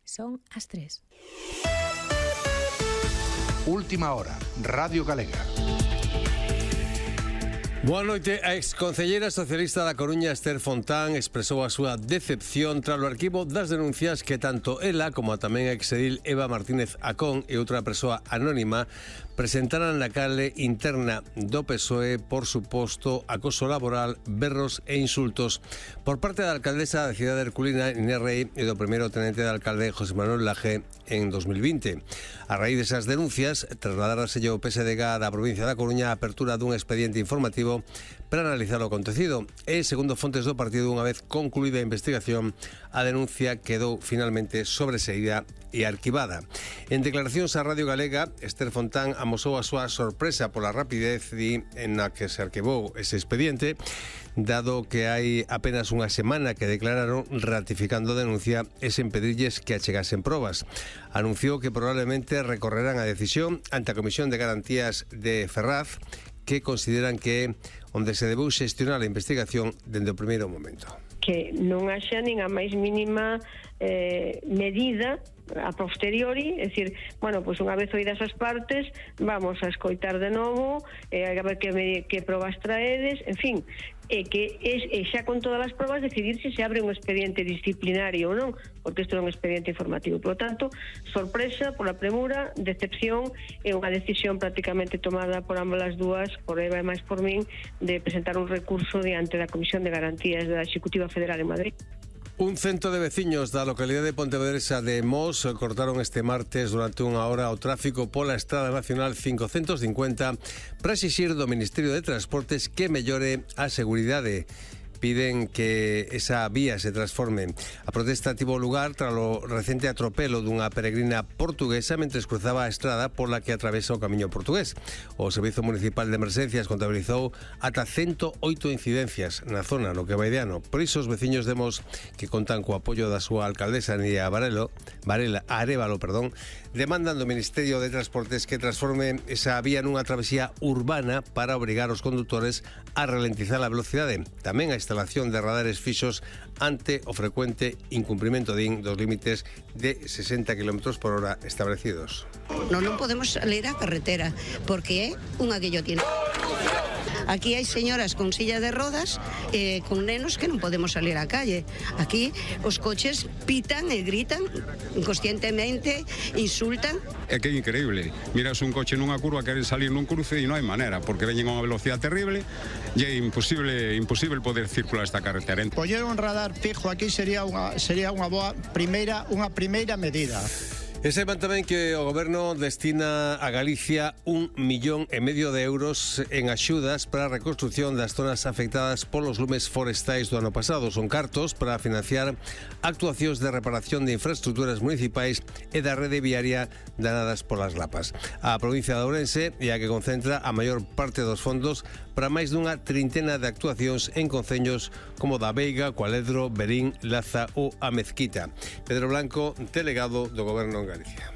Son as 3. Última hora, Radio Galega. Boa noite. A exconcelleira socialista da Coruña, Esther Fontán, expresou a súa decepción tras o arquivo das denuncias que tanto ela como tamén a exedil Eva Martínez Acón e outra persoa anónima presentaran na canle interna do PSOE por suposto acoso laboral, berros e insultos por parte da alcaldesa da cidade herculina Inés Rei e do primeiro tenente de alcalde José Manuel Laje en 2020. A raíz desas denuncias, trasladáraselle ao PSDG da provincia da Coruña a apertura dun expediente informativo para analizar o acontecido e, segundo fontes do partido, unha vez concluída a investigación, a denuncia quedou finalmente sobreseída e arquivada. En declaracións á Radio Galega, Esther Fontán amosou a súa sorpresa pola rapidez en a que se arquivou ese expediente, dado que hai apenas unha semana que declararon ratificando a denuncia e sen pedirlles que achegasen probas. Anunciou que probablemente recorrerán a decisión ante a Comisión de Garantías de Ferraz, que consideran que onde se debeu xestionar a investigación dende o primeiro momento. Que non haxa nin a máis mínima medida a posteriori, é dicir, bueno, pois unha vez oídas as partes, vamos a escoitar de novo, a ver que probas traedes, en fin, que xa con todas as probas decidir se abre un expediente disciplinario ou non, porque isto é un expediente informativo. Por lo tanto, sorpresa pola premura, decepción e unha decisión prácticamente tomada por ambas as dúas, por Eva e máis por min, de presentar un recurso diante da Comisión de Garantías da Executiva Federal en Madrid. Un cento de veciños da localidade de Pontevedresa de Mos cortaron este martes durante unha hora o tráfico pola Estrada Nacional 550 para exixir do Ministerio de Transportes que mellore a seguridade. Piden que esa vía se transforme. A protesta tivo lugar tras o recente atropelo dunha peregrina portuguesa mentres cruzaba a estrada pola que atravesa o camiño portugués. O Servizo Municipal de Emerxencias contabilizou ata 108 incidencias na zona no que vai de ano. Por iso os veciños de Mos, que contan co apoio da súa alcaldesa Nidia Arévalo, demandan do Ministerio de Transportes que transforme esa vía nunha travesía urbana para obrigar os condutores a ralentizar a velocidade. Tamén a instalación de radares fixos ante o frecuente incumprimento dos límites de 60 km por hora establecidos. Non podemos salir á carretera porque é unha guillotina. Aquí hai señoras con silla de rodas con nenos que non podemos salir á calle. Aquí os coches pitan e gritan inconscientemente, insultan. É que é increíble. Miras un coche nunha curva, queren salir nun cruce e non hai maneira, porque veñen a unha velocidade terrible e é imposible poder circular esta carretera. Poñer un radar fijo aquí sería unha boa primeira medida. E saiban tamén que o Goberno destina a Galicia 1,5 millón de euros en axudas para a reconstrucción das zonas afectadas polos lumes forestais do ano pasado. Son cartos para financiar actuacións de reparación de infraestructuras municipais e da rede viaria danadas polas lapas. A provincia de Ourense é a que concentra a maior parte dos fondos para máis dunha trintena de actuacións en concellos como da Veiga, Cualedro, Berín, Laza ou a Mezquita. Pedro Blanco, delegado do Goberno en Galicia.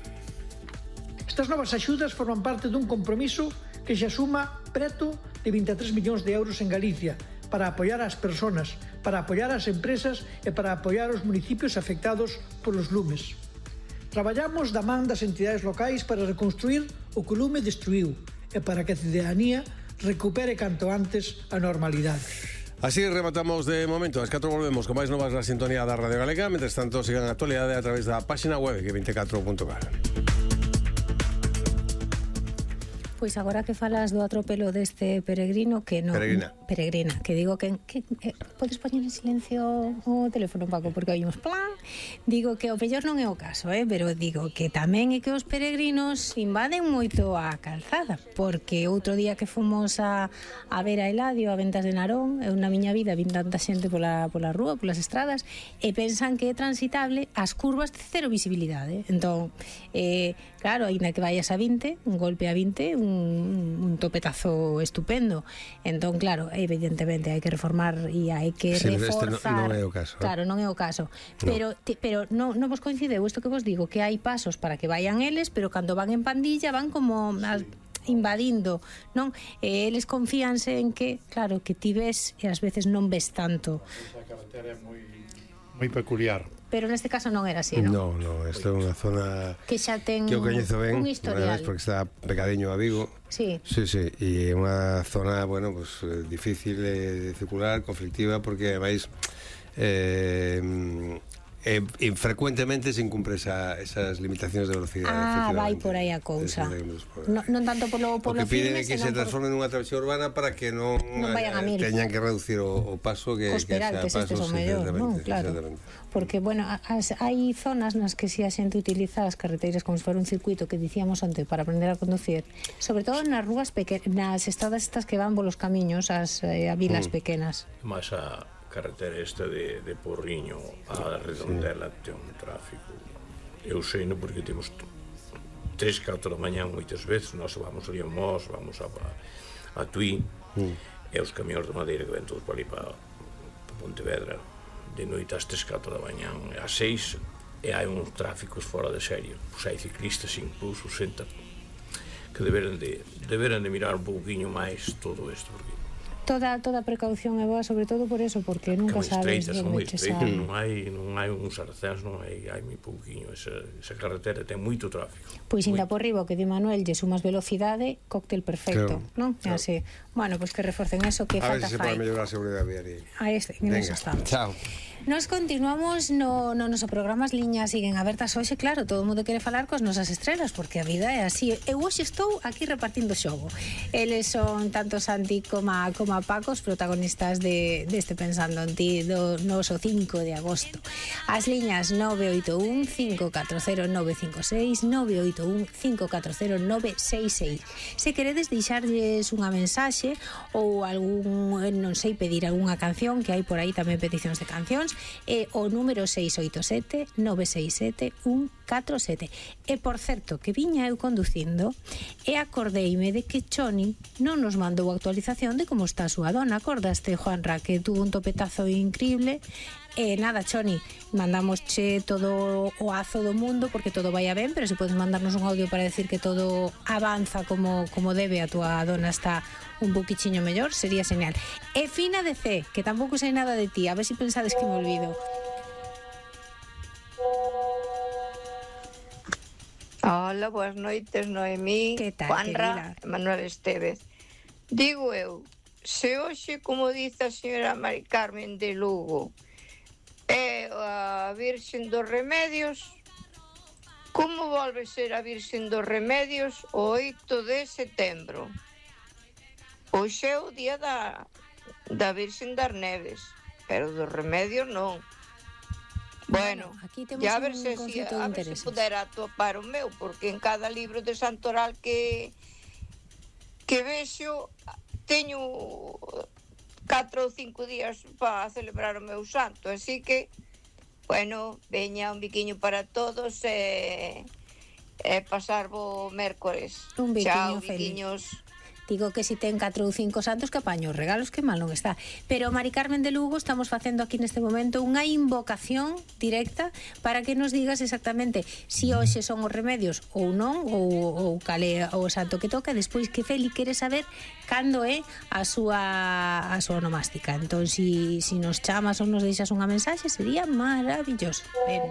Estas novas axudas forman parte dun compromiso que xa suma preto de 23 millóns de euros en Galicia para apoiar as persoas, para apoiar as empresas e para apoiar os municipios afectados polos lumes. Traballamos da man das entidades locais para reconstruir o que o lume destruiu e para que a cidadanía recupere canto antes a normalidade. Así rematamos de momento. As 4 volvemos con máis novas na sintonía da Radio Galega. Mentres tanto, sigan a actualidade a través da página web que24.gal. Pois agora que falas do atropelo deste peregrino que non... Peregrina, que digo que podes poñer en silencio o teléfono, Paco, porque oímos plan. Digo que o mellor non é o caso, pero digo que tamén é que os peregrinos invaden moito a calzada, porque outro día que fomos a ver a Eladio, a Ventas de Narón, eu na miña vida vin tanta xente pola rúa, polas estradas, e pensan que é transitable as curvas de cero visibilidade. Entón, claro, aínda que vayas a 20, un golpe a 20, un topetazo estupendo. Entón, claro, evidentemente hai que reformar e hai que reforzar. Non é o caso. Claro, non é o caso. No. Pero non vos coincideu isto que vos digo, que hai pasos para que vayan eles, pero cando van en pandilla van como invadindo, non? Eles confíanse en que, claro, que ti ves e ás veces non ves tanto. A carretera é moi peculiar. pero neste caso non era así, non? Non, isto é unha zona que xa ten que eu coñezo ben, un historial, porque está pegadiño a Vigo. Sí. Sí, e é unha zona, bueno, pues difícil de circular, conflictiva, porque ademais frecuentemente se incumpre esas limitacións de velocidade. Vai por aí a cousa. Non tanto polo que piden firme, que se transforme nunha travesía urbana para que non vayan a mil. teñan que reducir o paso que esperar que este son mellor, non? Claro. Porque, bueno, hai zonas nas que si a xente utiliza as carreteiras como se fora un circuito que dicíamos onte para aprender a conducir, sobre todo nas rúas pequenas, nas estradas estas que van polos camiños a vilas pequenas. Mas a carretera esta de Porriño a Redondela ten un tráfico, eu sei non, porque temos 3-4 da mañá moitas veces, nós vamos ali a Mos, vamos a Tui, e os camións de madeira que ven todos para ali para Pontevedra de noite ás 3-4 da mañá, ás 6, e hai uns tráficos fora de serie, pois hai ciclistas incluso que deberan de mirar un pouquinho máis todo isto, porque toda precaución é boa, sobre todo por eso, porque nunca sabes onde che sai. Non hai uns arcéns, non hai moi pouquiño, esa carretera ten moito tráfico. Pois ainda por riba, que di Manuel, lle sumas velocidade, cóctel perfecto, non? Así. Bueno, pois que reforcen eso, que falta fai. A ver se pode mellorar a seguridade viaria. En eso estamos. Chao. Nos continuamos no noso programa, as liñas siguen abertas hoxe, claro, todo o mundo quere falar cos nosas estrelas, porque a vida é así. Eu hoxe estou aquí repartindo xogo. Eles son tanto Santi como Paco, os protagonistas deste Pensando en Ti do noso 5 de agosto. As liñas 981 540 956, 981 540 966. Se queredes deixarlles unha mensaxe ou algún, non sei, pedir algunha canción, que hai por aí tamén peticións de cancións, é o número 687 967 147. E por certo, que viña eu conducindo e acordeime de que Choni non nos mandou actualización de como está a súa dona. Acordaste, Juanra, que tuvo un topetazo increíble? E nada, Choni, mandamosche todo o azo do mundo porque todo vai ben, pero se podes mandarnos un audio para decir que todo avanza como debe, a túa dona está un poquichiño mellor, sería genial. E Fina de C, que tampouco sei nada de ti, a ver se pensades que me olvido. Hola, boas noites, Noemí, Juanra, Manuel Estevez. Digo eu, se hoxe, como dice a señora Mari Carmen de Lugo, é a Virxen dos Remedios, como volve ser a Virxen dos Remedios o 8 de setembro? Hoxe é o día da Virxen das Neves, pero dos Remedios non. Bueno, ya a ver se pudera atopar o meu, porque en cada libro de santoral que vexo teño 4 ou 5 días para celebrar o meu santo, así que, bueno, veña un biquiño para todos e pasar bo mércores. Un biquiño Chao, feliz. biquiños. Digo que si ten 4 ou 5 santos que apaño os regalos, que mal non está. Pero Mari Carmen de Lugo, estamos facendo aquí neste momento unha invocación directa para que nos digas exactamente si hoxe son os remedios ou non, ou cal é o santo que toca, despois que Feli quere saber cando é a súa onomástica. Entón, si nos chamas ou nos deixas unha mensaxe, sería maravilloso. Ben.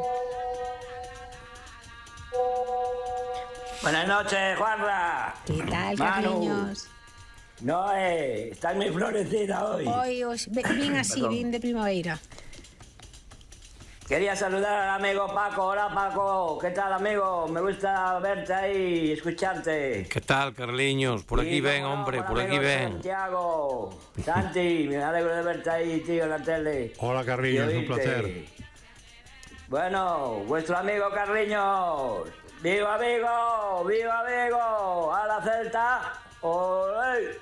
Buenas noches, Juanra. ¿Qué tal, Carliños? No, estás muy florecida hoy. Hoy, bien así, bien de primavera. Quería saludar al amigo Paco. Hola, Paco. ¿Qué tal, amigo? Me gusta verte ahí y escucharte. ¿Qué tal, Carliños? Por aquí ven, hombre, por aquí ven. Santiago, Santi, me alegro de verte ahí, tío, en la tele. Hola, Carliños, un placer. Bueno, vuestro amigo Carliños. ¡Viva Vigo! ¡Viva Vigo! ¡A la Celta! ¡Olé!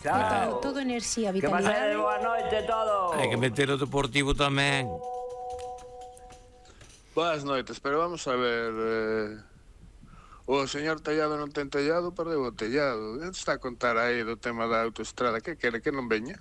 Chao. Todo enerxía, vitalidade. Que pasen boa noite todo. Hai que meter o Deportivo tamén. Boas noites, pero vamos a ver... o señor Tellado non ten tellado, perdeu o tellado. Está a contar aí do tema da autoestrada. Que quere que non veña?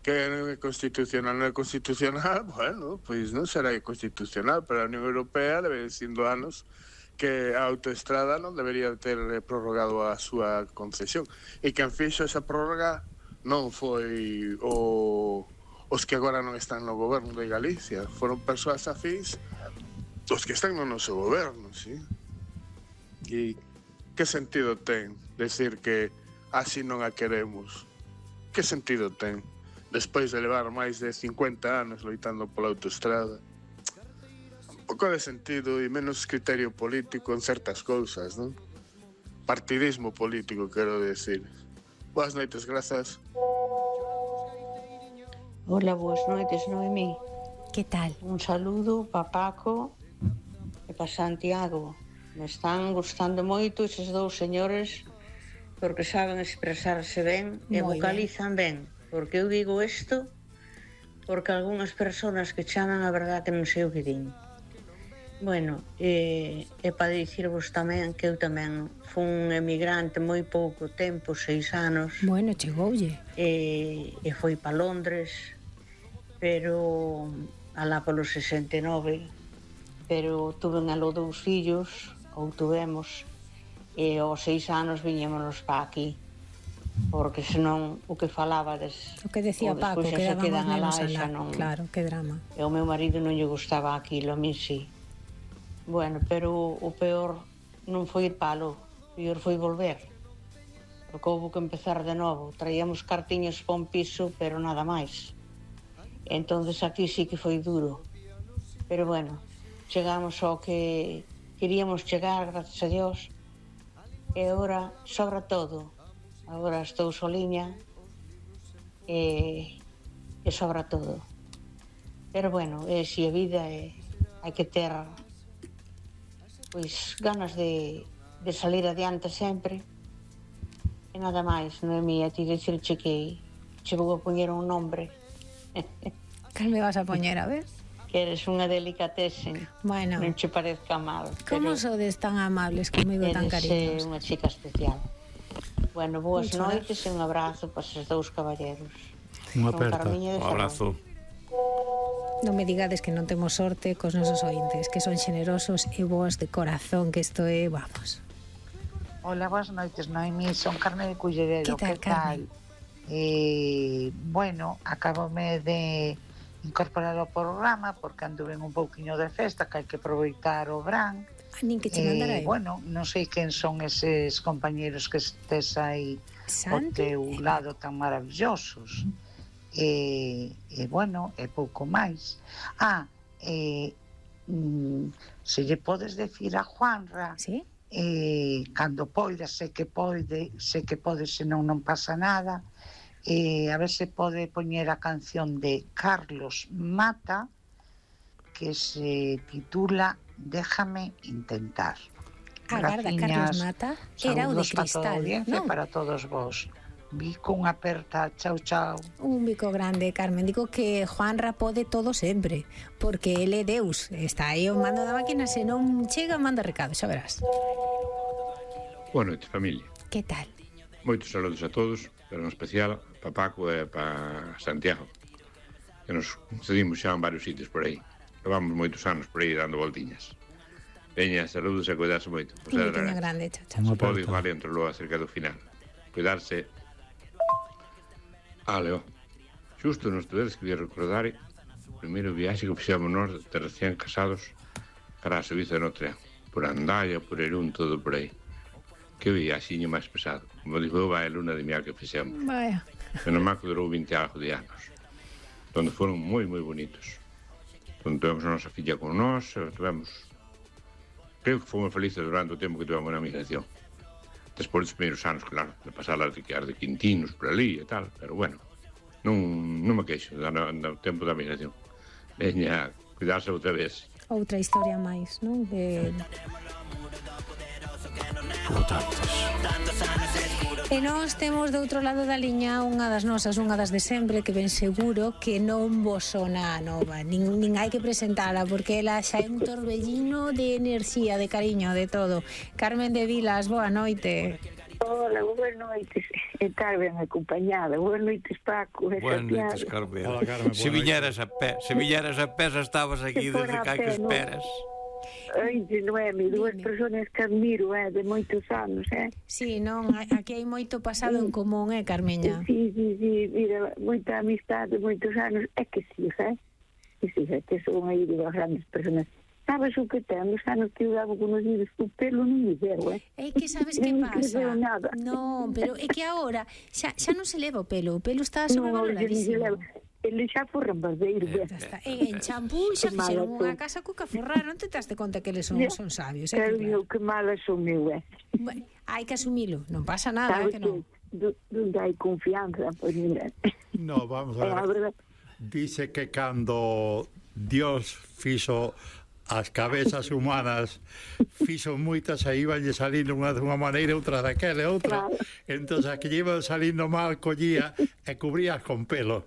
Que non é constitucional, non é constitucional. Bueno, pois non será constitucional, pero a Unión Europea debe dicindo anos que a autoestrada non debería ter prorrogado a súa concesión, e quen fixo esa prórroga non foi o os que agora non están no goberno de Galicia. Foron persoas afíns os que están no noso goberno, sí? E que sentido ten decir que así non a queremos? Que sentido ten? Despois de levar máis de 50 anos loitando pola autoestrada. Un pouco de sentido e menos criterio político en certas cousas, non? Partidismo político, quero decir. Boas noites, grazas. Hola, boas noites, Noemí. Que tal? Un saludo para Paco e para Santiago. Me están gustando moito eses dous señores porque saben expresarse ben e vocalizan ben. Porque eu digo isto porque algunhas persoas que chaman a verdade que non sei o que din. Bueno, e para dicirvos tamén que eu tamén fui un emigrante moi pouco tempo, 6 anos. Bueno, chegoulle. E foi para Londres, pero alá polo 69, pero tuve aló 2 fillos, ou tuvemos, e aos 6 anos viñémonos para aquí, porque senón o que falabades, o que decía Paco, que daban os nenos alá, claro, que drama. E o meu marido non lle gustaba aquilo, a mí sí. Bueno, pero o peor non foi ir palo, o peor foi volver, porque houve que empezar de novo. Traíamos cartiños para un piso, pero nada máis. Entonces aquí sí que foi duro, pero bueno, chegamos ao que queríamos chegar, gracias a Dios, e agora sobra todo. Agora estou soliña e sobra todo. Pero bueno, si a vida hai que ter pois ganas de salir adiante sempre. E nada máis, Noemí, a ti dicirche que che vou a poñer un nombre. Cal me vas a poñer, a ver? Que eres unha delicatesen. Bueno. Non che parezca mal. Como sodes tan amables comigo, tan cariñosos? Eres unha chica especial. Bueno, boas noites e un abrazo para esos dous caballeros. Unha aperta. Un abrazo. Non me digades que non temos sorte cos nosos ointes, que son xenerosos e boas de corazón, que isto é, vamos. Hola, boas noites, Noemí, son Carmen de Cullerero. Que tal, Carmen? Bueno, acabome de incorporar ao programa porque anduve un pouquiño de festa, que hai que aproveitar o verán. Nin que che mandara eu. Bueno, non sei quen son eses compañeros que estés aí ao teu lado tan maravillosos. Bueno, é pouco máis. Se lle podes decir a Juanra, ¿sí? Cando poida, sei que pode, senón non pasa nada, a ver se pode poñer a canción de Carlos Mata que se titula Déjame intentar. Agarda, Carlos Mata era o de Cristal, non? Para todos vos. Bico, unha aperta, chao, chao. Un bico grande, Carmen. Digo que Juanra pode todo sempre, porque ele é Deus. Está aí o mando da máquina, se non chega, manda recado, xa verás. Boa noite, familia. Que tal? Moitos saludos a todos, pero en especial para Paco e para Santiago, que nos cedimos xa en varios sitios por aí. Levamos moitos anos por aí dando voltiñas. Veña, saludos e cuidarse moito. Un biquinho grande, chao, chao. Pode igual entre lo acerca do final. Cuidarse. Leo, xusto nos tedes que recordar o primeiro viaxe que fixamos nós de recién casados para a Suiza de Notre Dame, por Andalla, por Erún, todo por aí. Que viaxiño máis pesado. Como digo eu, vai a luna de miel que fixemos. Vaya. Menos mal que durou 20 algo de anos, donde foron moi, moi bonitos. Donde tivemos a nosa filla con nós, creo que fomos felices durante o tempo que tivemos na migración. Despois dos primeiros anos, claro, de pasar as de Quintinos por ali e tal, pero bueno, non me queixo do tempo da migración. Veña, cuidarse outra vez. Outra historia máis, non? E nós temos do outro lado da liña unha das nosas, unha das de sempre, que ben seguro que non vos sona a nova, nin hai que presentala, porque ela xa é un torbellino de enerxía, de cariño, de todo. Carmen de Vilas, boa noite. Hola, boas noites. E tal ben acompañada. Boas noites, Paco. Boas noites, Carmen. Hola, Carmen. Se viñeras a pé, estabas aquí desde cá que esperas. Ai, Noemi, dúas persoas que admiro, de moitos anos, Sí, non, aquí hai moito pasado en común, Carmeña? Sí, mira, moita amistade, moitos anos, é que sí, que son aí de grandes persoas. Sabes o que ten? Os anos que eu daba con os vídeos, o pelo non me deu, É que sabes que pasa? Non, pero é que agora xa non se leva o pelo está sobrevaloradísimo. Ele xa foi rambadeiro. En champú xa fixeron unha casa cuca forrar, non te daste conta que eles son sabios. Pero eu que mala son eu, Hai que asumilo, non pasa nada, que non. Donde hai confianza, pois mira. No, vamos a ver. Dice que cando Dios fixo as cabezas humanas, fixo moitas e iban salindo unha dunha maneira, outra daquela e outra. Entón, a que iban salindo mal collía e cubrías con pelo.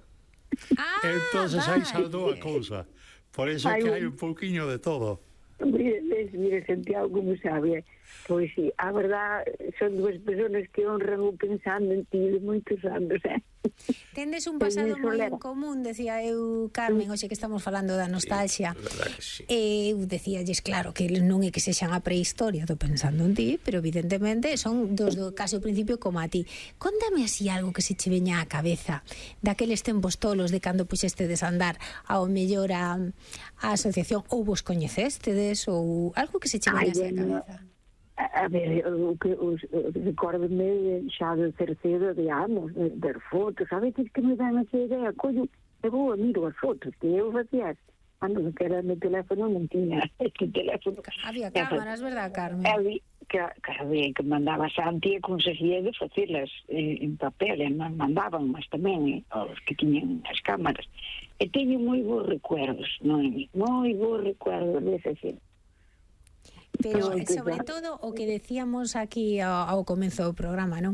Entón, aí saldou a cousa. Por eso que hai un pouquiño de todo. Mire, Santiago, como sabe, pois sí, a verdad, son dúas persoas que honran o pensando en ti de moitos anos, Tendes un pasado moi en común, decía eu, Carmen, hoxe que estamos falando da nostalgia. Eu decíalles, claro, que non é que sexan a prehistoria do pensando en ti, pero evidentemente son dos do caso principio como a ti. Contame así algo que se che veña á cabeza daqueles tempos tolos de cando puxestedes a andar ao mellor a asociación, ou vos coñecestedes, ou algo que se che veña á cabeza. A ver, recórdome xa do terceiro de anos, ver fotos, a veces que me dan esa idea, coño, eu vou a miro as fotos que eu facía, cando que era no teléfono non tiña este teléfono. Había cámaras, verdad, Carmen? Había que mandaba Santi e conseguía de facelas en papel, e mandaban, mas tamén os que tiñan as cámaras. E teño moi bons recuerdos, moi bons recuerdos dese xente. Pero, sobre todo, o que decíamos aquí ao comezo do programa, non?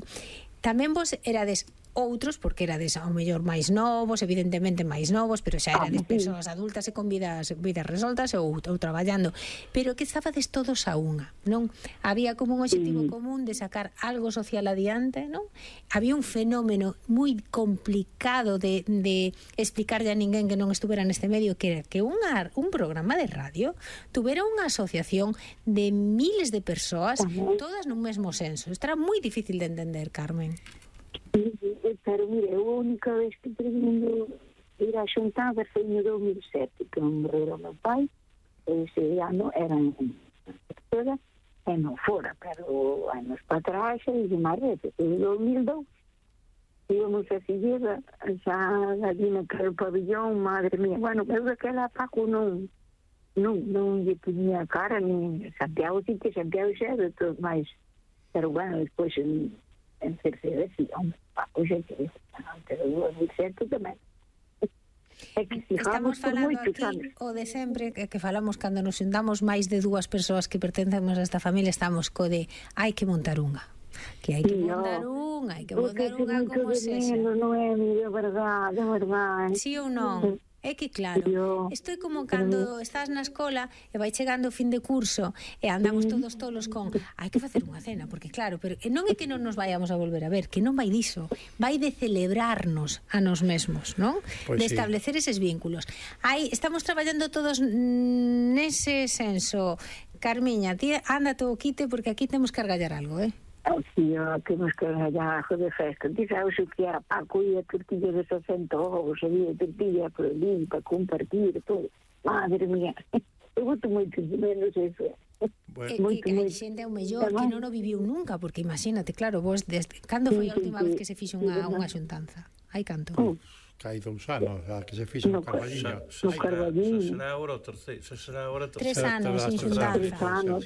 Tamén vos erades outros, porque erades ao mellor máis novos, evidentemente máis novos, pero xa erades persoas adultas e con vidas resoltas ou traballando, pero que estabades todos a unha, non? Había como un objetivo común de sacar algo social adiante, non? Había un fenómeno moi complicado de explicarlle a ninguén que non estuvera neste medio, que era que un programa de radio tuvera unha asociación de miles de persoas, todas nun mesmo senso. Isto era moi difícil de entender, Carmen. Pero mire, a única vez que terminou ir a xuntada foi no 2007, que morreu o meu pai, ese ano eran todas, e non fora, pero anos para trás, e máis veces, en 2002, íbamos a seguir xa ali naquele pabillón, madre mía, bueno, eu daquela Paco non lle ponía cara, ni Santiago, sí que Santiago xa de todo máis, pero bueno, despois en terceira, sí, Paco xa que pero 2007 tamén. Estamos falando aquí o de sempre que falamos cando nos juntamos máis de dúas persoas que pertencemos a esta familia, estamos co de hai que montar unha, que hai que montar unha, como sexa. Non é de verdade, sí ou non? É que claro, isto é como cando estás na escola e vai chegando o fin de curso e andamos todos tolos con hai que facer unha cena, porque claro, pero non é que non nos vayamos a volver a ver, que non vai diso, vai de celebrarnos a nos mesmos, non? De establecer eses vínculos. Estamos traballando todos nese senso. Carmiña, ti ándate o quite porque aquí temos que argallar algo, Sí, temos que argallar algo de festa. Ti sabes o que era Paco e a tortilla de 60 ovos, había tortilla por ali para compartir todo. Madre mía, eu boto moito de menos eso. Que a xente é o mellor que non o viviu nunca, porque imagínate, claro, vos cando foi a última vez que se fixo unha xuntanza? Hai canto? Hai 2 anos, a que se fixo no Carballiño. Será agora o terceiro. 3 anos sin xuntanza.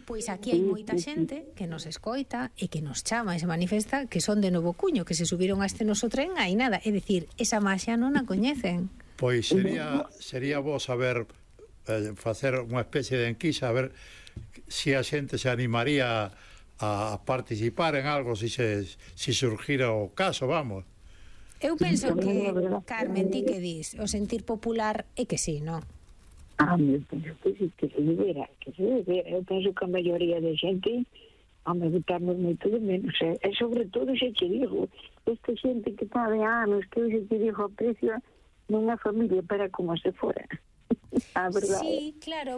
Pois aquí hai moita xente que nos escoita e que nos chama e se manifesta que son de Novo Cuño, que se subiron a este noso tren aí nada. É dicir, esa maxia non a coñecen. Pois sería bo saber facer unha especie de enquisa, a ver se a xente se animaría a participar en algo se surgira o caso, vamos. Eu penso que, Carmen, ti que dis, o sentir popular é que sí, non? Eu penso que sí, que se debera. Eu penso que a maioría de xente botamos moito de menos, e sobre todo xe te digo, esta xente que está de anos, que eu xe te digo aprecio nunha familia para como se fora. A verdade. Sí, claro.